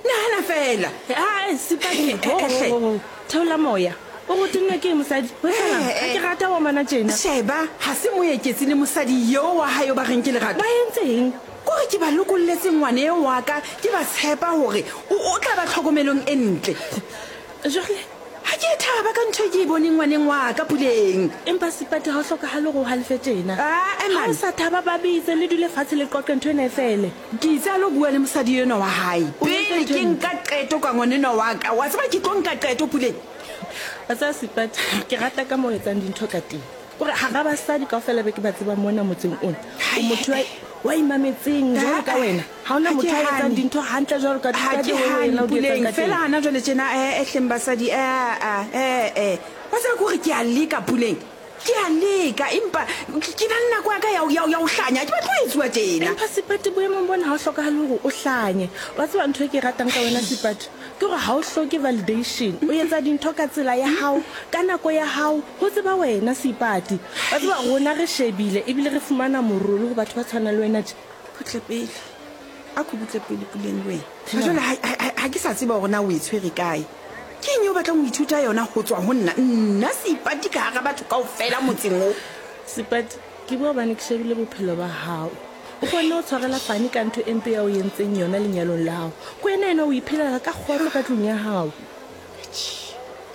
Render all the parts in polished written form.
Nahana feela. Ae, Seipati, Eh, ho, eh, ho, ho, ho. Theola moya. O go tennwe ke eng, mosadi? Ho etsahalang? Eh, Ha eh. ke rata wa mana tjena. Sheba, ga se Moeketsi le mosadi yo wa hae o ba reng ke Lerato. Ba entseng? Kore ke ba lokolletse ngwane eo wa ka, ke ba tshepa hore o, o tla ba tlhokomelong e ntle. Jwale? Ga ke a thaba ka ntho e ke e boneng ngwaneng wa ka, Puleng. Empa Seipati, ga o hlokahale gore o halefe tjena. Ae, Ha man. o sa thaba, ba bitse, le dule fatshe le qoqe ntho ena e fele. Ke itse a lo bua le mosadi enwa wa hae O entse pele ntho ke e mpe. nka qeto ka ngwanenwa wa ka. Wa tseba ke tlo nka qeto, Puleng. Wa tseba Seipati, ke rata ka moo o etsang dintho ka teng. Kore hara basadi kaofela be ke ba tsebang mona motseng ona, o motho wa, wa imametseng jwalo ka wena. Ha hona Ha ke motho a etsang hane. dintho hantle jwalo ka, Ha ka ke the way hane, wena o di etsang Puleng. ka teng. Feela hana jwale tjena, eh-eh hleng basadi, eh-eh, eh-eh. Wa tseba ke hore ke a leka, Puleng. Ke a leka, empa ke na le nako ya ka ya, ya, ya ho hlanya. Ha ke batle ho etsuwa tjena. Empa Seipati, boemong bona ha ho hlokahale hore o hlanye. Wa tseba ntho e ke e ratang ka wena Seipati, ke hore ha o hloke validation. O etsa dintho ka tsela ya hao, ka nako ya hao, ho tseba wena Seipati. Wa tseba rona re shebile ebile re fumana morolo ho batho ba tshwanang le wena tje. Butle pele. Ako butle pele Puleng le wena. Ha jwale ha, ha, ha ke sa tseba hore na o e tshwere kae. Ke eng eo o batlang ho ithuta yona ho tswa ho nna? Nna Seipati ka hara batho kaofela motseng wo. Seipati, Ke bua hobane ke shebile bophelo ba hao. O kgonne ho tshwarela Fani ka ntho e mpe ya o entseng yona lenyalong la hao. Ke wena enwa o iphelela ka kgotso ka tlung ya hao. Atjhe,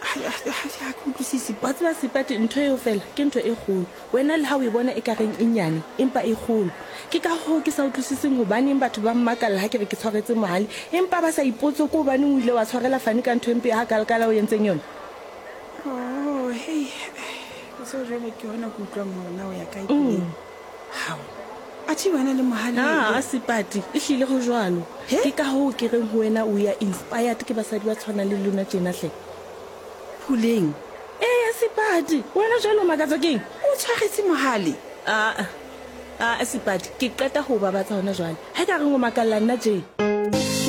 ha, ha, ha ke utlwisise. Wa tseba Seipati, ntho eo feela ke ntho e kgolo. Wena le ha o e bona ekareng e nyane, empa e kgolo. Ke ka hoo ke sa utlwisiseng hobaneng batho ba mmakalla ha ke re ke tshwaretse Mohale, empa ba sa ipotse ke hobaneng o ile wa tshwarela Fani ka ntho e mpe hakalakala o entseng yona. Oh, hei, o tseba jwale ke hona ke utlwang hore na o ya kae puleng. Hao, athe wena le Mohale. Aa, Seipati, ehlile ho jwalo. He? Ke ka hoo ke reng ho wena o ya inspired ke basadi ba tshwanang le lona tjena hle. Puleng. Eya, Seipati, wena jwale o makatswa keng? O tshwaretse Mohale? Aa, aa, Seipati, ke qeta ho o babatsa hona jwale. Ha e ka reng o makalla nna tjee?